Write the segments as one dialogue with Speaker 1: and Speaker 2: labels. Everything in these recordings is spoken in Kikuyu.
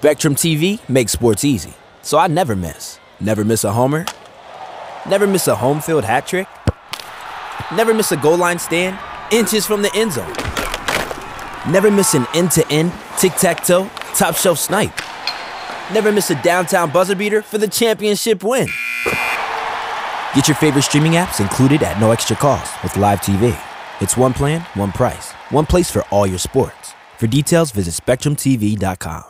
Speaker 1: Spectrum TV makes sports easy, so I never miss. Never miss a homer. Never miss a home field hat trick. Never miss a goal line stand, inches from the end zone. Never miss an end-to-end, tic-tac-toe, top shelf snipe. Never miss a downtown buzzer beater for the championship win. Get your favorite streaming apps included at no extra cost with Live TV. It's one plan, one price, one place for all your sports. For details, visit SpectrumTV.com.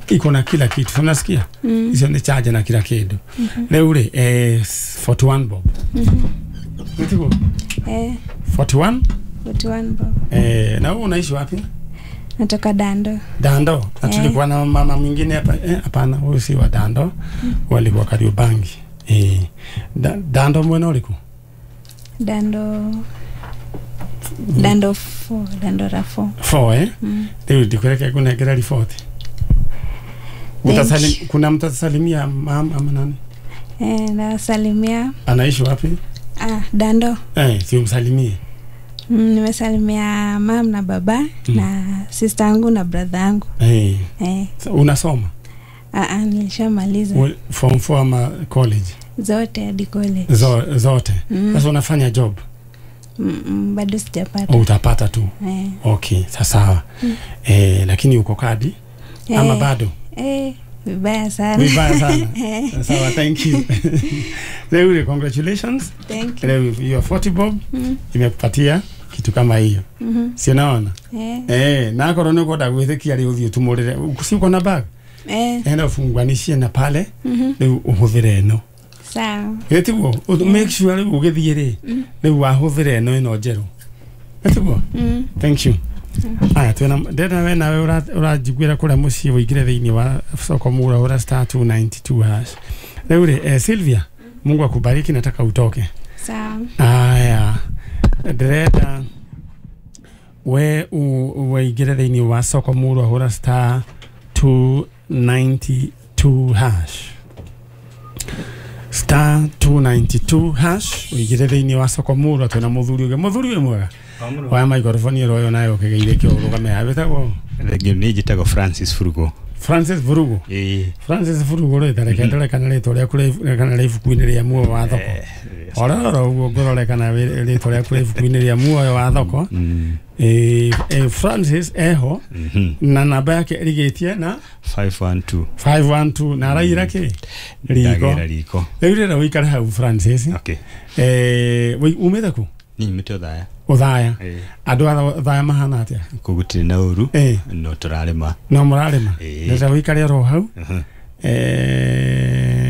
Speaker 2: Iko na kila kitu, unasikia? Hizo ni charge na kila kitu. Leo ule 41 bob. Nitiko? 41?
Speaker 3: 41 bob.
Speaker 2: Na wewe unaishi wapi?
Speaker 3: Natoka Dando.
Speaker 2: Dando. Na tulikuwa na mama mwingine hapa, hapana, huyu si wa Dando. Walikuwa Kariobangi. Dando mwena uliko?
Speaker 3: Dando Dando 4, Dando ra 4.
Speaker 2: 4 eh? Leo ndikureke kunengera ripoti. Utasalim, kuna mtu atasalimia mama ama nani?
Speaker 3: Nasalimia.
Speaker 2: Anaishi wapi?
Speaker 3: Dando.
Speaker 2: Si umsalimie.
Speaker 3: Nimesalimia mama na baba na sister yangu na brother yangu.
Speaker 2: Unasoma?
Speaker 3: Nilishamaliza.
Speaker 2: Form 4 ama college?
Speaker 3: Zote hadi college.
Speaker 2: Zote. Sasa unafanya job?
Speaker 3: Bado sijapata.
Speaker 2: Utapata tu. Okay, sasa. Lakini uko kadi? Ama bado?
Speaker 3: Vibaya sana.
Speaker 2: Vibaya sana. Sawa, thank you. Leo congratulations.
Speaker 3: Thank you.
Speaker 2: Leo your 40 bob imekupatia kitu kama hiyo. Si unaona? Na korona uko ndagwithikia ri uthie tumurire. Si uko na bag? Enda ufunganishie na pale riu uhuthire eno.
Speaker 3: Sawa.
Speaker 2: Gitiguo make sure riu ugithie ri riu wahuthire eno ino njeru. Gitiguo? Thank you. Aya twena ndenda we nawe urajiguira kuria mucii uingire thiini wa soko mura ura star 292 hash. Riu ri Sylvia, Mungu akubariki, nataka utoke.
Speaker 3: Sawa.
Speaker 2: Aya ndĩrenda we uingire thiini wa soko mura ura star 292 hash. Star 292 hash uingire thiini wa soko mura twena muthuri uge muthuri we mwega. Wa microphone ro nayo kigeire kio rugame habetagwo
Speaker 4: rĩngĩ ni njĩtagwo Francis Furugo.
Speaker 2: Francis Furugo. Francis Furugo rĩ tareke ndore kana rĩtwa rĩaku kana rĩ ibuku-inĩ rĩa muoyo wa thoko. Ora ũguo ngorore kana rĩtwa rĩaku rĩ ibuku-inĩ rĩa muoyo wa thoko. Francis eho na namba yake ĩrigĩtie na
Speaker 4: 512
Speaker 2: 512 na araira kĩ riko. Rĩu rĩra ũikare hau Francis.
Speaker 4: Okay.
Speaker 2: Umĩte kũ?
Speaker 4: Nyumĩte Othaya.
Speaker 2: Othaya. Andũ a Othaya mahana atĩa?
Speaker 4: Kũu gũtirĩ na ũru. No tũrarĩma.
Speaker 2: No mũrarĩma. Ndĩrenda ũikare oro hau.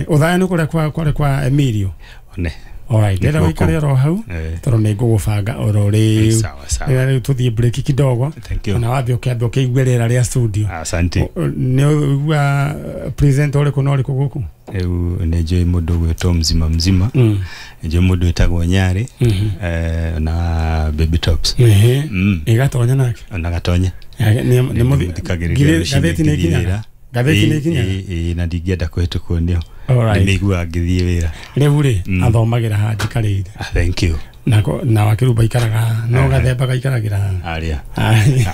Speaker 2: Othaya nĩ kũrĩa kwa kwa Emilio.
Speaker 4: One.
Speaker 2: Alright, ndĩrenda ũikare oro hau tondũ nĩ ngũgũbanga oro rĩu.
Speaker 4: Sawa sawa.
Speaker 2: Rĩu tũthiĩ break kidogo. Na wambe ũkĩambe ũkĩigue rĩera rĩa studio.
Speaker 4: Asante.
Speaker 2: Nĩ ũigua present ũrĩkũ na ũrĩkũ gũkũ?
Speaker 4: Rĩu nĩ njũĩ mũndũ ũgwĩtwo mzima mzima. Njũĩ mũndũ wĩtagwo Nyarĩ na Baby Tops.
Speaker 2: Ĩgatonya nake?
Speaker 4: Ona gatonya.
Speaker 2: Nĩ mũthikagĩrĩria gatheti nĩ ikinyaga? Gatheti nĩ ikinyaga?
Speaker 4: Na ndingĩenda kũhĩtũkwo nĩyo. Nĩmĩiguaga ngĩthiĩ wĩra.
Speaker 2: Rĩu rĩ athomagĩra haha njikarĩire.
Speaker 4: Thank you.
Speaker 2: Na wakĩrumba ikaraga no gathemba gaikaragĩra
Speaker 4: haha.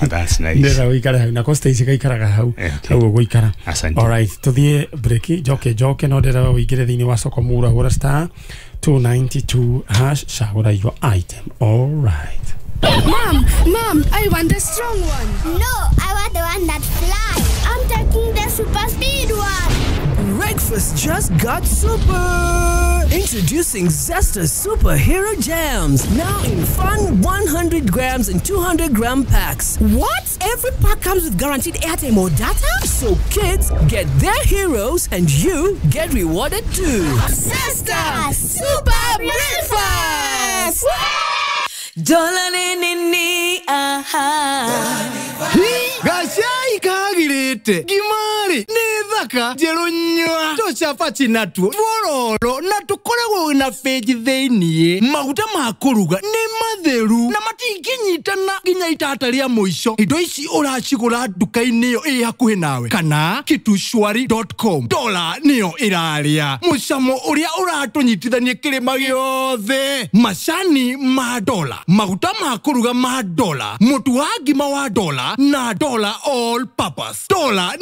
Speaker 4: That's nice.
Speaker 2: Ndĩrenda ũikare hau na Costa gaikaraga hau hau ũgũikara. Alright, tũthiĩ break njoke njoke no ndĩrenda ũingĩre thĩinĩ wa soko mura hũra star 292 hash cagũra your item. Alright.
Speaker 5: Mom, I want the strong one.
Speaker 6: No, I want the one that flies. I'm taking the super speed one.
Speaker 7: Breakfast just got super. Introducing Zesta Superhero Jams, now in fun 100 grams and 200 gram packs.
Speaker 5: What? Every pack comes with guaranteed airtime or data?
Speaker 7: So kids get their heroes and you get rewarded too.
Speaker 5: Zesta Super Breakfast!
Speaker 8: Dola ni ni aha.
Speaker 9: Gacai kagirite ngimari ni thaka njeru nyua tucabaci natuo twororo na tukoragwo na benji thiini maguta ma kuruga ni matheru na matinginyitana nginya itata ria muico. Indo ici uracigura nduka-inĩ ĩyo ĩ hakuhĩ nawe kana kitushwari.com. Dola niyo iraria mucamo uria uratunyitithania kirima giothe. Macani ma dola, maguta ma kuruga ma dola, mutu wa ngima wa dola na dola all purpose. Dola.